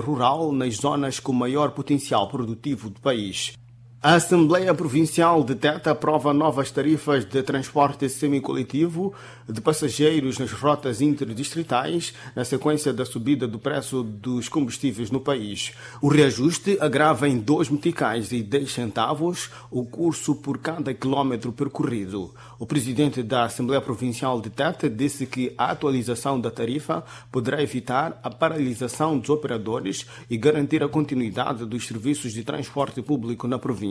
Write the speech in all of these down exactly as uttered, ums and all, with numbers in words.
Rural nas zonas com maior potencial produtivo do país. A Assembleia Provincial de Tete aprova novas tarifas de transporte semicoletivo de passageiros nas rotas interdistritais, na sequência da subida do preço dos combustíveis no país. O reajuste agrava em dois meticais e dez centavos o curso por cada quilômetro percorrido. O presidente da Assembleia Provincial de Tete disse que a atualização da tarifa poderá evitar a paralisação dos operadores e garantir a continuidade dos serviços de transporte público na província.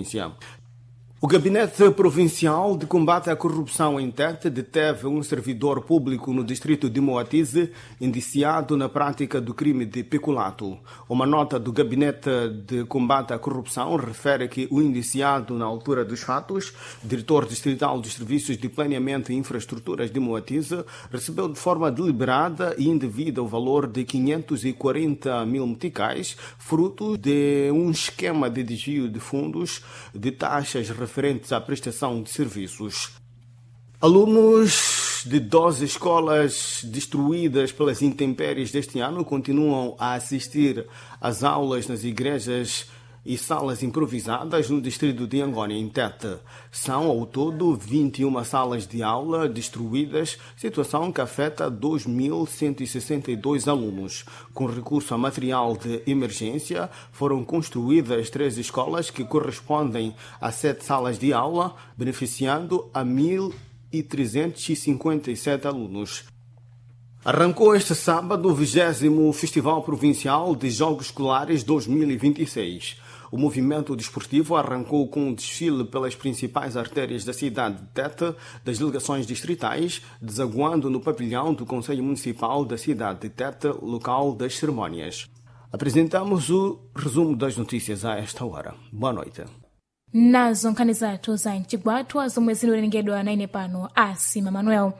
O Gabinete Provincial de Combate à Corrupção em Tete deteve um servidor público no distrito de Moatize, indiciado na prática do crime de peculato. Uma nota do Gabinete de Combate à Corrupção refere que o indiciado, na altura dos fatos, diretor distrital dos Serviços de Planeamento e Infraestruturas de Moatize, recebeu de forma deliberada e indevida o valor de quinhentos e quarenta mil meticais, fruto de um esquema de desvio de fundos de taxas referentes à prestação de serviços. Alunos de doze escolas destruídas pelas intempéries deste ano continuam a assistir às aulas nas igrejas e salas improvisadas no distrito de Angônia, em Tete. São, ao todo, vinte e uma salas de aula destruídas, situação que afeta dois mil cento e sessenta e dois alunos. Com recurso a material de emergência, foram construídas três escolas que correspondem a sete salas de aula, beneficiando a mil e trezentos e cinquenta e sete alunos. Arrancou este sábado o vigésimo Festival Provincial de Jogos Escolares dois mil e vinte e seis. O movimento desportivo arrancou com um desfile pelas principais artérias da cidade de Tete, das delegações distritais, desaguando no pavilhão do Conselho Municipal da cidade de Tete, local das cerimônias. Apresentamos o resumo das notícias a esta hora. Boa noite. Nazo nkhani zathu za mchigwatwa zomwe zinowerengedwa naine pano Asima Manuel.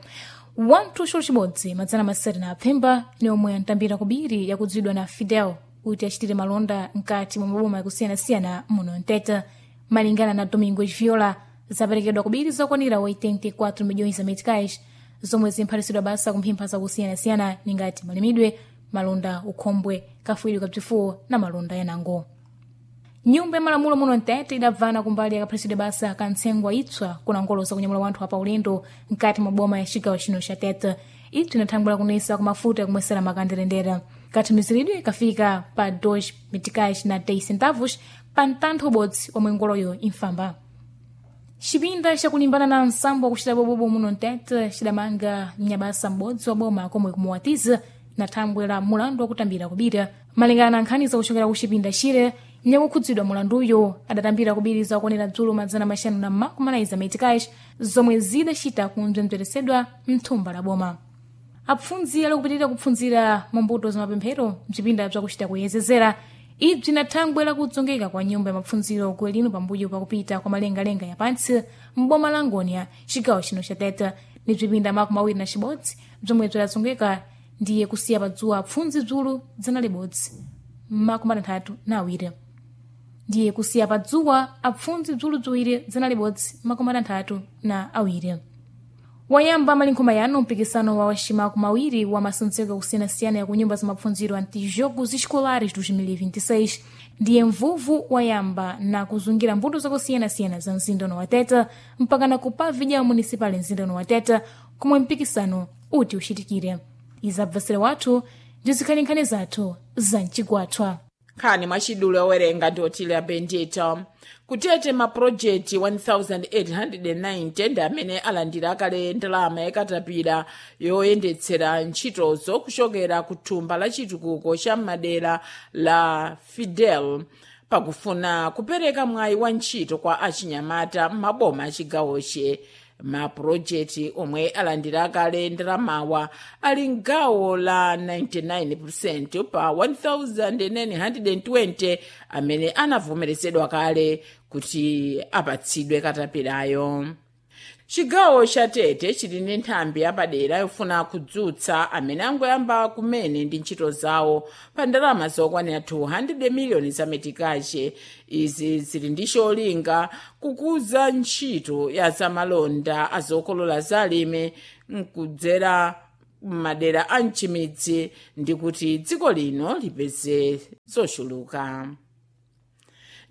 Wanthu xolo chibodzi madzana masere na apfemba ni omwe antambira kubiri yakudziwidwa na Fidel kuti achitire malonda mkati mwa maboma yakusiyanasiyana muno Mtete. Malingana na Domingos Viola, zaperekedwa kubiri zokwanira oitenta e quatro milhões za meticais zomwe zimphatisidwa basa kumphempha zakusiyanasiyana ningati malimidwe, malonda ukhombwe, kafuidwe kabzifuwo na malonda yanango. Nyumba ya malamulo muno Mtete idabvana kumbali yakaphasidwe basa kantsengwa itswa kuna ngolo zakunyamula wanthu apa ulendo mkati mwa boma ya cigawo chino cha Tete. Itswa inathangwira kunesa kumafuta yakumwesera makanderendera. Kathumiziridwe kafika pa dois meticais na dez centavos pa mtantho ubodzi omwe ngoloyo imfamba. Cipinda cakulimbana na nsambo wakucita bobobo muno Mtete cidamanga mnyabasa m'bodzi wa boma komwe kumuwatiza na thangwe la mulandu wakutambira kubira. Malingana na nkhani zakuchokera ku cipinda chire, nyakukhudzidwa mulanduyo adatambira kubiri zakuonera dzulo madzana maxanu na makumi anayi za meticais zomwe zidacita kumdzembzeresedwa mthumba la boma. Apfundzi ali kupitirira kupfunzira mambuto za mapemphero mcipinda bzakucita kuyezezera. Ibzi na thangwe lakudzongeka kwa nyumba ya mapfunziro kuelino pambuyo pakupita kwa malengalenga ya pantsi m'boma la Ngônia, cigawo chino cha Tete. Ni bzipinda makumi awiri na cibodzi bzomwe bzidadzongeka ndiye kusiya padzuwa apfundzi dzulo dzana libodzi makumi atanthatu na awiri. Ndiye kusiya padzuwa apfundzi dzulo ziwiri dzana libodzi makumi atanthatu na awiri. Wayamba malinkhoma yanu mpikisano wa waximaku mawiri wa masontseko akusiyanasiyana ya kunyumba za mapfundziro antijogos escolares dois mil e vinte e seis. Ndiye mvuvu wayamba na kuzungira mbuto zakusiyanasiyana za mzinda wa Tete mpaka na kupavidya municipal mzinda wa Tete komwe mpikisano uti uchitikire. Izabvesere wathu ndizikhali nkhani zathu za mchigwathwa. Nkhani mwachidule owerenga ndi Otilia Bendito. Kutete mapulojekiti one thousand eight hundred ninety ndi amene alandira kale ndalama yakatapira yoyendetsera ntchitozo kuchokera ku thumba la chitukuko cha madera la Fidel pakufuna kupereka mwayi wa ntchito kwa achinyamata m'maboma achigawoche. Mapulojekiti omwe alandira kale ndalamawa ali mgawo la ninety-nine percent pa one thousand nine hundred twenty amene anavomerezedwa kale kuti apatsidwe katapirayo. Chigawo cha Tete chili ndi nthambi yapadera yofuna kudzutsa amene angoyamba kumene ndi ntchito zawo pa ndalama zokwanira two hundred miliyoni za metikache. Izi zili ndi cholinga kukuza ntchito ya zamalonda azokolola za alimi nkudzera m'madera a mchimidzi ndi kuti dziko lino lipeze zochuluka.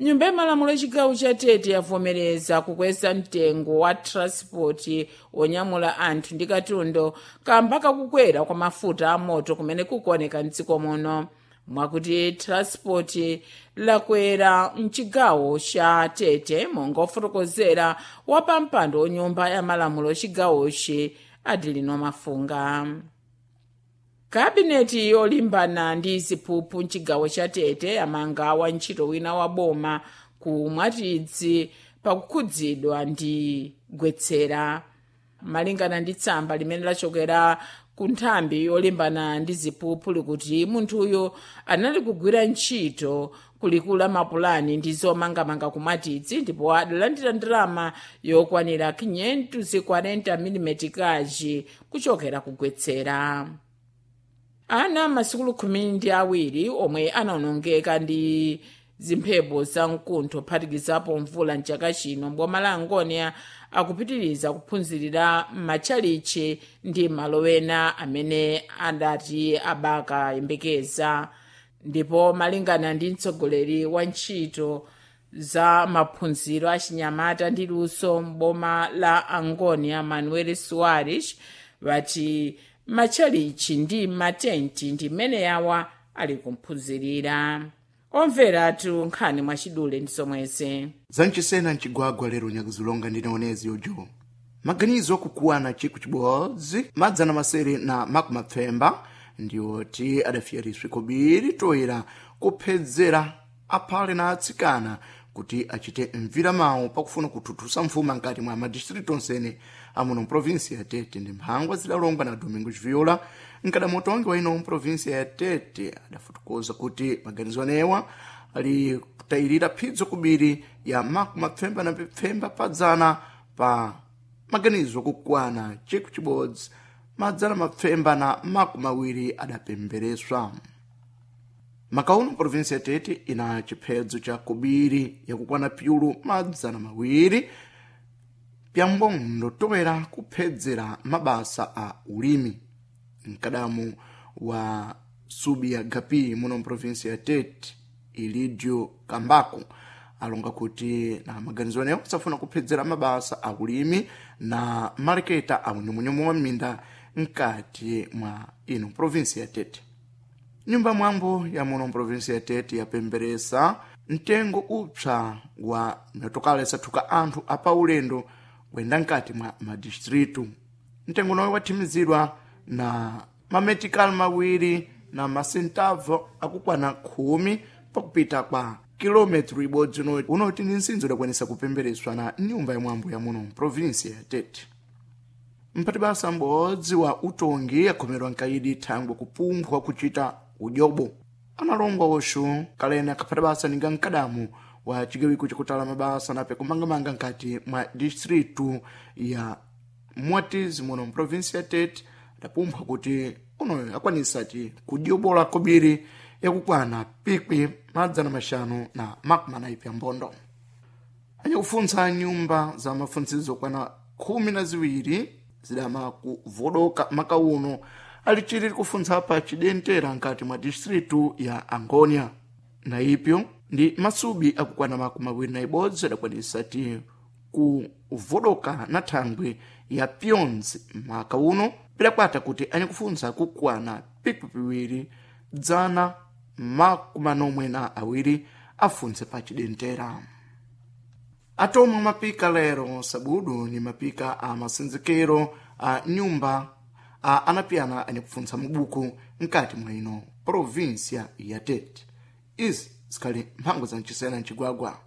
Nyumba yamalamulo yachigawo cha Tete yavomereza kukweza mtengo wa transport wonyamula anthu ndi katundu kamba kakukwera kwa mafuta amoto kumene kukuoneka mdziko muno, mwakuti transport lakwera mchigawo cha Tete, monga ofotokozera wapampando wonyumba ya malamulo chigawochi Adelino Mafunga. Kabineti yolimbana ndi ziphuphu mchigawo cha Tete amanga wantchito wina wa boma ku Mwatidzi pakukhudzidwa ndi gwetsera. Malingana ndi tsamba limene lachokera ku nthambi yolimbana ndi ziphuphu likuti munthuyo anali kugwira ntchito kulikula mapulani ndi zomangamanga ku Mwatidzi ndipo adalandira ndalama yokwanira quinhentos e quarenta mm kaji kuchokera kugwetsera. Ana masukulu khumi ndi awiri omwe anawonongeka ndi zimphepo za mkuntho phatikizapo mvula mchaka chino mboma la Angonia akupitiriza kuphunzirira m'matchalichi ndi malo ena amene adati abakayembekeza. Ndipo malingana ndi mtsogoleri wa ntchito za maphunziro a chinyamata ndi luso mboma la Angonia, Manuel Soares, vati matchalichi ndi matenti ndi mmene yawa ali kumphunzirira. Omveratu nkhani mwachidule ndi zomwezi. Zanchisena mchigwagwa lero nyakuzilonga ndinaonezi ujo maganizo akukuwana chiku chibodzi madzana masere na makumapfemba ndiwoti adafiyariswe kobiri toera kuphedzera aphale na atsikana kuti achite mviramawu pakufuna kuthuthusa mfuma nkati mwa madistritu onsene amuno mprovinsi ya Tete. Ndi mphangwa zidalongwa na Domingos Viola mkadamotongi wa ino mprovinsi ya Tete adafotokoza kuti maganizo anewa ali kutayirira phidzo kubiri ya makumapfemba na pfemba padzana pa maganizo kukwana chiku chibodzi madzana mapfemba na makumawiri adapembereswa. Makauno provinsi ya Tete ina chiphedzo cha kubiri yakukwana pyulu madzana mawiri pyambondo toera kuphedzera mabasa a ulimi. Mkadamu wa subi ya gapi muno mprovinsi ya Tete, Ilidio Kambako, alonga kuti na maganizo anewo safuna kuphedzera mabasa a ulimi na maleketa a unyumunyumu wa minda mkati mwa ino provinsi ya Tete. Nyumba mwambo ya muno mprovinsi ya Tete yapemberesa mtengo upsa wa mitokala isathuka anthu apaulendo kuyenda nkati mwa madistritu. Mtengo nawo wathimizidwa na mametikali mawiri na masentavo akukwana khumi pakupita kwa kilometro ibodzi unoti ndi nsinzo idakwanisa kupembereswa na nyumba ya mwambo ya muno mprovinsi ya Tete. Mpati basa m'bodzi wa utongi akhomerwa nkaidi thangwe kupumphwa kuchita udyobo analongwa oxo kalene akhapata basa ninga mkadamu wa chigawiko chakutala mabasa nape kumangamanga nkati mwa distritu ya Mwatizi muno mprovinsi ya Tete adapumphwa kuti unoyo akwanisati kudyobola kobiri yakukwana pikwi madzana maxanu na makumi anayi pya mbondo. Anyakufuntsa nyumba za mafuntsizo kwana khumi na ziwiri zidama kuvodoka makauno alichiri kufuntsa pa chidentera nkati mwa distritu ya Angonia. Na ipyo ndi masubi akukwana makumi awiri na ibodzi adakwanisati kuvodoka na thangwi ya pyonzi maka uno pidakwata kuti anyakufuntsa kukwana pikwi piwiri dzana makumi anomwe na awiri afuntse pa chidentera. Atomwe mapika lero sabudu ni mapika a masenzekero a nyumba a anapiyana anyakufuntsa mubuku nkati mwa ino provinsia ya Tete. Izi zikhali mphango za mchisena mchigwagwa.